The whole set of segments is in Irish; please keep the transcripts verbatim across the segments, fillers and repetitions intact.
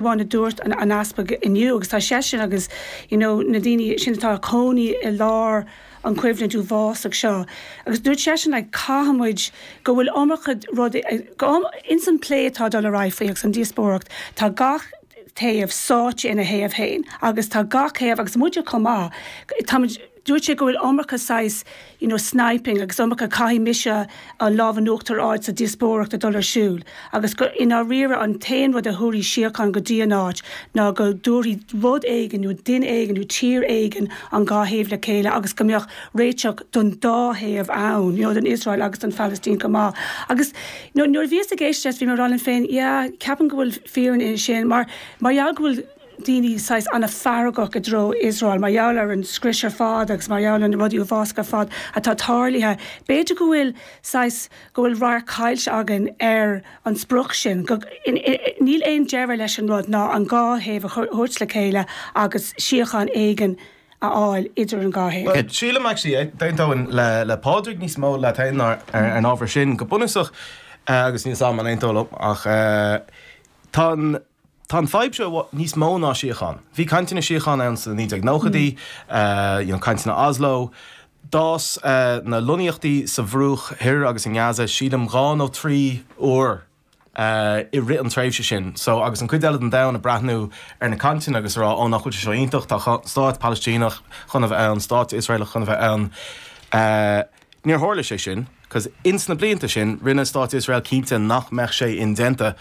amháin a dúirt an, an easpag inniu agus tá seisean agus you know, na daoine sin atá cónaí i lár an choimhlint uafásach seo. Agus dúirt seisean like, caithfimid go bhfuil iomarca rud ins an plé atá dul ar aghaidh faoi agus an díospóireacht tá gach taobh sáite ina thaobh féin agus tá gach taobh agus muide chomh maith táimid dúirt sé go bhfuil iomarca saghas you know, sniping agus iomarca caithfidh mise an lámh in uachtar a fháil sa díospóireacht a dul ar siúl agus go i ndáiríre an t-aon rud a thabharfaidh síocháin go dtí an áit ná go dtabharfaidh rud éigin nó duine éigin nó tír éigin an dhá thaobh le chéile agus go mbeadh réiteach don dá thaobh ann you know, don Iosrael agus don Phalaistín go maith. Agus you know, nuair a bhíos ag éisteacht bhí mé rá féin yeah, ceapaim go bhfuil fírinne in sin mar mar gheall go bhfuil daoine saghas an-fheargach i dtreo Iosrael mar gheall ar an scrios ar fad agus mar gheall ar na rudaí uafásacha ar fad atá tarlaithe. B'fhéidir go bhfuil saghas go bhfuil radharc caillte againn ar an sprioc sin. Go, in, in, níl aon deireadh leis an rud ná an dhá thaobh a thabhairt le chéile agus síocháin éigin a fháil idir an dhá thaobh. Well, sílim actually d'aontóinn le le Pádraig níos mó le tain ar ar an ábhar sin go bunúsach uh, agus níos am an aontóil ach uh, tá an Tá an fadhb seo níos mó ná síocháin. Bhí cainteanna síocháin ann sna naoi déag nóchaidí, you know, cainteanna Oslo, D'fhás uh, na lonnaíochtaí sa Bhruach Thoir agus in Gaza sílim dhá nó trí uair uh, i rith an tréimhse sin. So agus an chuid eile den domhan ag breathnú ar na cainteanna agus rá ó nach bhfuil sé seo iontach tá stát Palaistíneach chun a bheith ann, stát Iosraelach chun a bheith ann. Uh, níor tharla sé sin, cos ins na blianta sin rinne stát Iosrael cinnte nach mbeadh sé indéanta.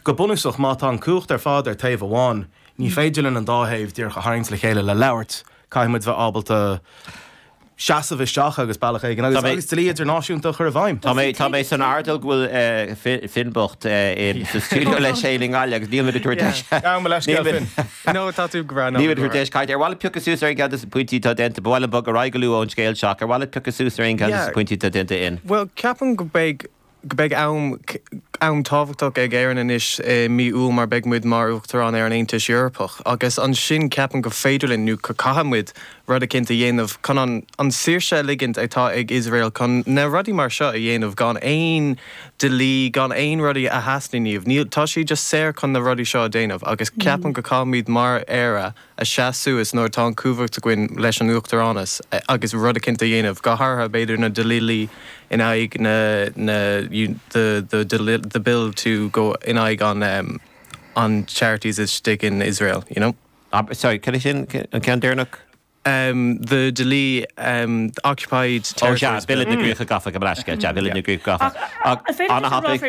Go bunúsach má tá an cumhacht ar fad ar taobh amháin, ní féidir linn an dá thaobh díreach a tharraingt le chéile le labhairt, caithfimid bheith ábalta seasamh isteach agus bealach éigin agus agus dlí idirnáisiúnta chur i bhfeidhm. Tá mé tá mé san airdeall go bhfuil Finn bocht sa stiúideo leis é nGaillimh agus níl túir No tá tú go Ní tú deis caiit ar bhile piocadh suas ar an gceann pointí atá déanta bhile bog ar go ón scéal seo ar bhile piocadh suas ar an gceann pointí atá déanta in. Well ceapaim go beidh go beidh am am tábhachtach ag Éirinn anois i mí Iúil mar beidh muid mar uachtarán ar an Aontas Eorpach agus ansin ceapaim go féidir linn nó go caithfimid rud éicint a dhéanamh chun an an saoirse a ligint atá ag Iosrael chun na rudaí mar seo a dhéanamh gan aon dlí gan aon rudaí a theastaíonn Níl tá sí just saor chun na rudaí seo a dhéanamh agus ceapaim go caithfimid mar Éire a seasamh suas nuair atá an cumhacht againn leis an uachtaránas agus rud éicint a dhéanamh go háirithe b'fhéidir na dlíthe in aghaidh na na the the the the bill to go in aghaidh an um, an charities istigh in Israel you know Uh, sorry, can sin an ceann deireanach? um, the dlí um, the occupied Ó territories Bille na gCríocha Gafa go leisce, sea Bille na gCríocha Gafa. An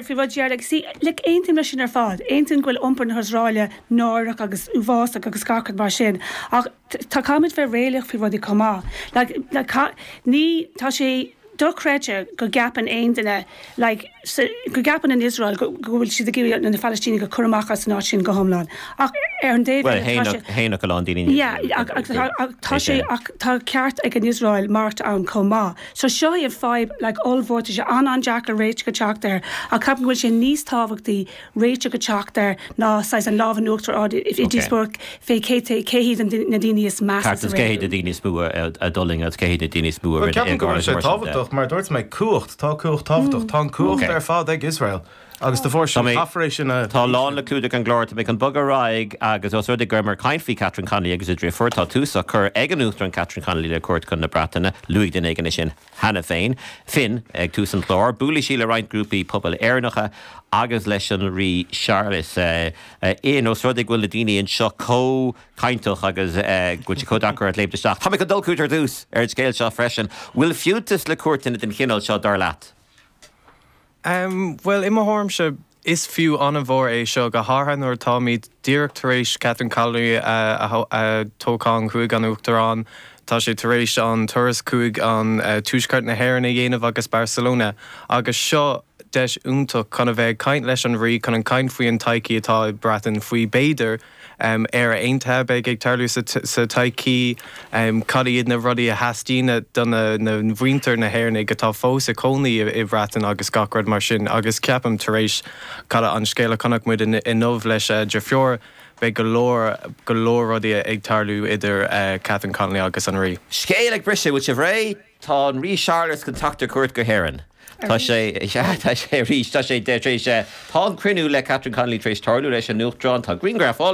faoi rud like, see, like, aontaím leis sin ar fad, aontaím go bhfuil iompar na hIosraeile náireach agus uafásach agus gach rud mar sin. Ach tá caithfimid bheith réalaíoch faoi rudaí chomh maith. Like, like, ní tá sé dochreidte go gceapann aon duine like, so, go gceapann an Iosrael go bhfuil siad ag iarraidh na Palestínigh a chur amach as an áit sin go hiomlán. Ach ar an dtaobh Héach go lán daoine. tá sé ach tá ceart ag an Iosrael maireachtáil ann chomh maith. So seo é an fadhb like, ollmhór sé an an-deacair réiteach a theacht air ach ceapaim go bhfuil sé níos tábhachtaí réiteach a theacht air ná saghas an lámh in uachtar i díospóireacht fé cé cé hiad na daoine is measa. Cé hiad na daoine is mó a d'fhulaing agus cé hiad na daoine is mó a Ceapaim go bhfuil sé tábhachtach mar dúirt mé cumhacht tá cumhacht tábhachtach tá an cumhacht ar fad ag Israel. Agus de bharr sin caithfear sin a Tá lán le clúdach an gclár tá an bog ráig agus os rud gur mar caint faoi Catherine Connolly agus a deirfiúr tá tús á chur ag an Uachtarán Catherine Connolly le cuairt chun na Breataine luaigh duine éigin sin cheana féin. Finn ag tús an chláir, buailfidh sí le roinnt grúpaí pobail Éireannacha agus leis an rí Charles in os rud bhfuil na daoine anseo chomh cainteach agus go bhfuil chomh léimt isteach. Tá go dul ar dtús ar an scéal seo freisin, bhfuil fiúntas le cuairteanna den chineál seo dar leat. Um, well i mo thuairimse is fiú an-mhór é seo go háirithe nuair táimid díreach tar éis Catherine Connolly a toghchán chuig an uachtarán, Tá sé tar éis an turas chuig an uh, tuaisceart na hÉireann a dhéanamh agus Barcelona agus seo deis iontach chun a bheith caint leis an rí chun an caint faoi an todhchaí atá i Breatain faoi b'fhéidir um, Éire aontaithe beidh ag tarlú sa, sa todhchaí um, cad iad na rudaí a theastaíonn do na, na mhuintir na hÉireann atá fós ag cónaí i, i Breatain agus gach rud mar sin agus ceapaim tar éis cad an scéal a chonaic muid inniu leis uh, deirfiúr beidh go leor go leor rudaí ag tarlú idir uh, Catherine Connolly agus an rí. Scéal ag briseadh bhfuil sibh réidh tá an rí Charles chun teacht ar cuairt go hÉirinn. Tá sé tá sé arís tá sé tar éis tá an cruinniú le Catherine Connolly tar éis tarlú leis an Uachtarán tá grianghraf